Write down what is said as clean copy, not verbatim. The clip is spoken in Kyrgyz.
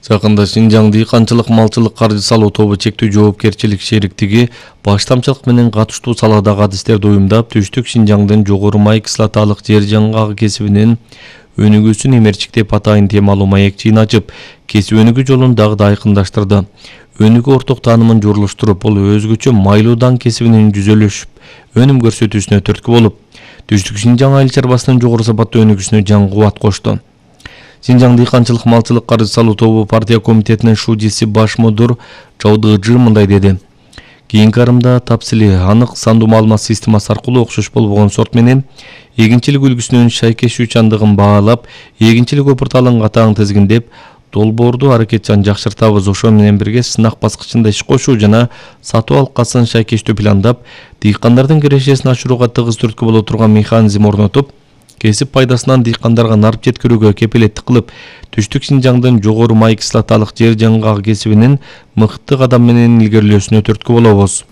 Жакында Шинжаң дыйканчылык малчылык каржы салуу тобу чектүү жоопкерчилик шериктиги баштамчылык менен катыштуу салаадагы адистерди уюмдап, Түштүк Шинжаңдын жогору май кислоталык жер жаңгагы кесибинин өнүгүүсүн эмерчиктеп атайын темалуу маекчиин ачып, кесип өнүгүү жолун дагы да айкындаштырды. Өнүгүү орток таанымын журлуштуруп, бул өзгөчө майлуу даң кесибинин жүзөлөшүп, өнүм көрсөтүүсүнө түрткү болуп, Түштүк Шинжаң айыл чарбасынын жогору сапаттуу өнүгүүсүнө жаңы кубат кошту. Шинжаң дыйканчылык малчылык каржы салуу тобу партия комитетинин шужиси баш мудур Жаудыжы мындай деди. Кийинки арымда тапсили анык сандуу маалымат системасы аркылуу окшош болбогон сорт менен эгинчилик үлгүсүнүн шайкешүүчандыгын баалап, эгинчилик опурталын катаң тизгиндеп, долбоорду аракетчан жакшыртабыз. Ошо менен бирге сынак баскычында иш кошуу жана сатуу алкасын шайкештүү пландап, дыйкандардын кирешесин ашырууга тыгыз түрткү боло турган механизм орнотуп, кесип пайдасынан дыйкандарга нарып жеткирүүгө кепилеттик кылып, Түштүк Шинжаңдын жогору май кислоталык жер жаңгагы кесибинин мыкты кадам менен илгерилөөсүнө түрткү болобуз.